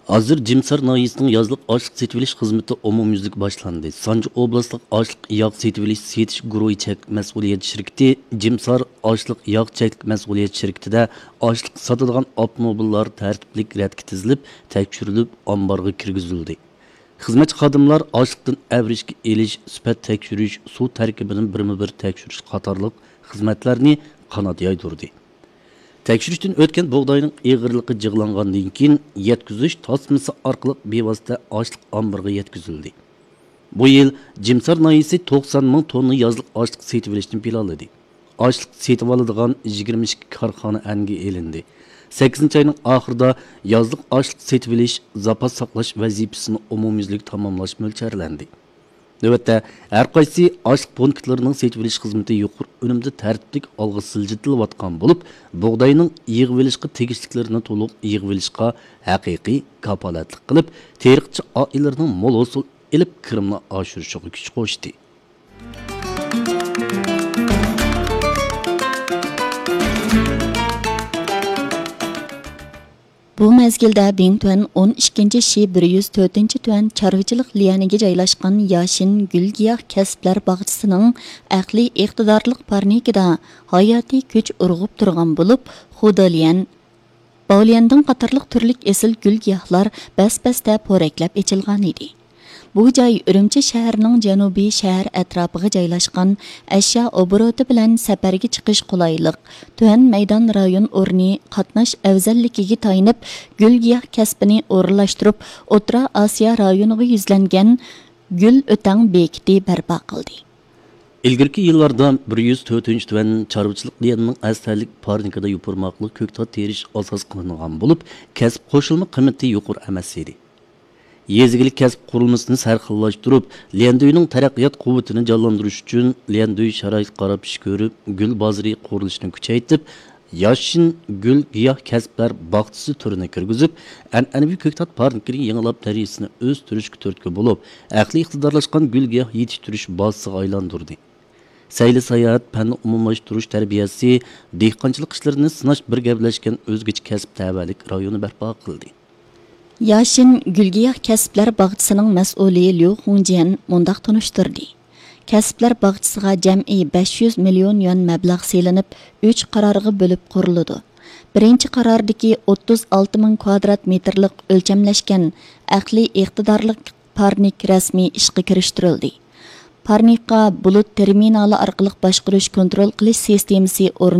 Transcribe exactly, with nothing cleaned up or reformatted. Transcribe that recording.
ھازىر جىمسار ناھىيەسىنىڭ يازلىق ئاشلىق سېتىۋېلىش خىزمىتى ئومۇميۈزلۈك باشلاندى. سانجى ئوبلاستلىق ئاشلىق ياغ سېتىۋېلىش سېتىش گۇرۇھى چەكلىك مەسئۇلىيەت شىركىتى جىمسار ئاشلىق ياغ چەكلىك مەسئۇلىيەت شىركىتىدە ئاشلىق ساتىدىغان ئاپتوموبىللار تەرتىپلىك رەتكە تىزىلىپ، تەكشۈرۈلۈپ، ئامبارغا كىرگۈزۈلدى. خىزمەتچى خادىملار ئاشلىقتىن ئەۋرىشكە ئېلىش، سۈپەت تەكشۈرۈش، سۇ تەركىبىنى بىرمۇ بىر تەكشۈرۈش قاتارلىق خىزمەتلەرنى قانات يايدۇردى. تەكشۈرۈشتىن ئۆتكەن بۇغداينىڭ ئېغىرلىقى جىغلانغاندىن كېيىن، يەتكۈزۈش تاسمىسى ئارقىلىق بىۋاسىتە ئاشلىق ئامبىرىغا يەتكۈزۈلدى. بۇ يىل جىمسار ناھىيەسى توقسان مىڭ توننا يازلىق ئاشلىق سېتىۋېلىشنى پىلانلىدى. ئاشلىق سېتىۋالىدىغان يىگىرمە ئىككى كارخانا ئەنگە ئېلىندى. سەككىزىنچى ئاينىڭ ئاخىرىدا يازلىق ئاشلىق سېتىۋېلىش، زاپاس ساقلاش ۋەزىپىسىنى ئومۇميۈزلۈك تاماملاش مۆلچەرلەندى. نۆۋەتتە ھەر قايسى ئاشلىق پونكىتلىرىنىڭ سېتىۋېلىش خىزمىتى يۇقىرى ئۈنۈمدە تەرتىپلىك ئالغا سىلجىتىلىۋاتقان بولۇپ، بۇغداينىڭ يىغىۋېلىشقا تېگىشلىكلىرىنى تولۇق يىغىۋېلىشقا ھەقىقىي كاپالەتلىك قىلىپ، تېرىقچى ئائىلىلىرىنىڭ مول ھوسۇل ئېلىپ، كىرىمنى ئاشۇرۇشىغا كۈچ قوشتى. بۇ مەزگىلدە دىڭتۈەن ئون ئىككىنچى شى بىر يۈز تۆتىنچى تۈەن چارۋىچىلىق ليەنىگە جايلاشقان ياشىن گۈل-گىياھ كەسىپلەر باغچىسىنىڭ ئەقلىي ئىقتىدارلىق پارنىكىدا ھاياتىي كۈچ ئۇرغۇپ تۇرغان بولۇپ، خۇداليەن، باۋليەندىڭ قاتارلىق تۈرلۈك ئېسىل گۈل-گىياھلار بەس-بەستە پورەكلەپ ئېچىلغانىدى. بۇ جاي ئۈرۈمچى شەھىرىنىڭ جەنۇبىي شەھەر ئەتراپىغا جايلاشقان، ئەشيا ئوبوروتى بىلەن سەپەرگە چىقىش قولايلىق، تۆۋەن مەيدان رايون ئورنى قاتناش ئەۋزەللىكىگە تايىنىپ، گۈل-گىياھ كەسپىنى ئورۇنلاشتۇرۇپ، ئوتتۇرا ئاسىيا رايونىغا يۈزلەنگەن گۈل ئۆتەڭ بېكىتى بەرپا قىلدى. ئىلگىرىكى يىللاردا بىر يۈز تۆتىنچى تۈەن چارۋىچىلىق ليەننىڭ ئەستەرلىك پارنىكىدا يوپۇرماقلىق كۆكتات تېرىش ئاساس قىلىنغان بولۇپ، كەسىپ قوشۇلما قىممىتى يۇقىرى ئەمەس ئىدى. يېزا ئىگىلىك كەسىپ قۇرۇلمىسىنى سەرخىللاشتۇرۇپ، ليەندۈينىڭ تەرەققىيات قۇۋۋىتىنى جانلاندۇرۇش ئۈچۈن، ليەندۈي شارائىتقا قاراپ ئىش كۆرۈپ، گۈل بازىرى قۇرۇلۇشىنى كۈچەيتىپ، ياشىن گۈل گىياھ كەسىپلەر باغچىسى تۈرىنى كىرگۈزۈپ، ئەنئەنىۋى كۆكتات پارنىكىنى يېڭىلاپ، دەرىجىسىنى ئۆستۈرۈشكە تۈرتكە بولۇپ، ئەقلىي ئىقتىدارلاشقان گۈل گىياھ يېتىشتۈرۈش بازىسىغا ئايلاندۇردى. سەيلە ساياھەت، پەننى ئومۇملاشتۇرۇش تەربىيەسى، دېھقانچىلىق ئىشلىرىنى سىناش بىر گەپلەشكەن ئۆزگىچە كەسىپ تەۋەلىك رايونى بەرپا قىلدى. ياشىن گۈل گىياھ كەسىپلەر باغچىسىنىڭ مەسئۇلى ليۇ خۇڭجيەن مۇنداق تونۇشتۇردى: كەسىپلەر باغچىسىغا جەمئىي بەش يۈز مىليون يۈەن مەبلەغ سېلىنىپ، ئۈچ قارارغا بۆلۈپ قۇرۇلىدۇ. بىرىنچى قاراردىكى ئوتتۇز ئالتە مىڭ كۋادرات مېتىرلىق ئۆلچەملەشكەن ئەقلىي ئىقتىدارلىق پارنىك رەسمىي ئىشقا كىرىشتۈرۈلدى. پارنىكقا بۇلۇت تېرمىنالى ئارقىلىق باشقۇرۇش كونترول قىلىش سىستېمىسى ئورنىتىلدى.